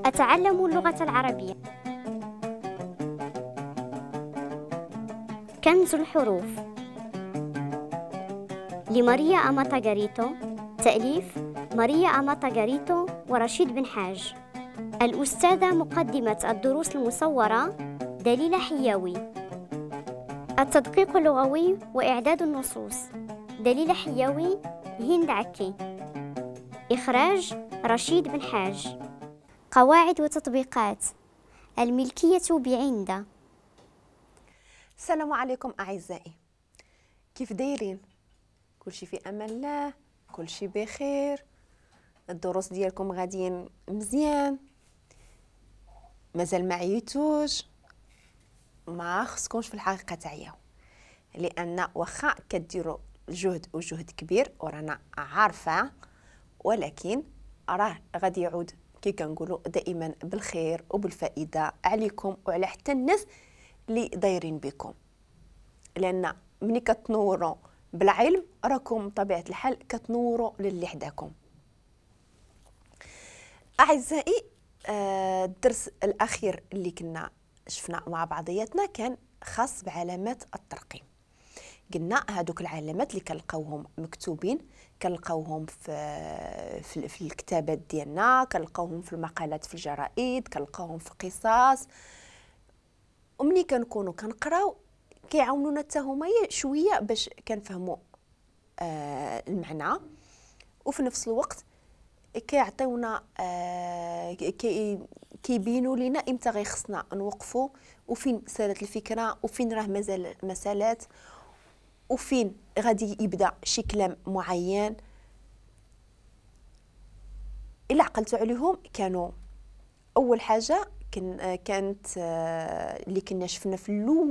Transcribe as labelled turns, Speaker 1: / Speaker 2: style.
Speaker 1: أتعلم اللغة العربية. كنز الحروف لماريا أماتا غاريتو، تأليف ماريا أماتا غاريتو ورشيد بن حاج. الأستاذة مقدمة الدروس المصورة دليلة حياوي. التدقيق اللغوي وإعداد النصوص دليلة حياوي، هند عكي. إخراج رشيد بن حاج. قواعد وتطبيقات الملكية بعند.
Speaker 2: السلام عليكم أعزائي، كيف دايرين؟ كلشي في أمان الله، كلشي بخير، الدروس ديالكم غاديين مزيان، مازال ما عييتوش؟ ما خصكمش في الحقيقة تعياو، لأن واخا كديروا جهد وجهد كبير ورانا عارفة، ولكن راه غادي يعود كي كنقولوا دائما بالخير وبالفائدة عليكم وعلى حتى الناس اللي دايرين بكم، لأن ملي كتنوروا بالعلم راكم بطبيعة الحال كتنوروا للي حداكم. أعزائي، الدرس الأخير اللي كنا شفنا مع بعضياتنا كان خاص بعلامات الترقيم. قلنا هادوك العلامات اللي كنلقاوهم مكتوبين، كنلقاوهم في الكتابات ديالنا، كنلقاوهم في المقالات في الجرائد، كنلقاوهم في القصص، ومني كنكونوا كنقراو كيعاونونا حتى هما شوية باش كنفهموا المعنى، وفي نفس الوقت كيعطيونا كيبينوا لينا امتى غيخصنا نوقفوا، وفين سالت الفكرة، وفين راه مازال مسالات، وفين غادي يبدا شي كلام معين. الا عقلتوا عليهم كانوا اول حاجة كانت اللي كنا شفنا في الاول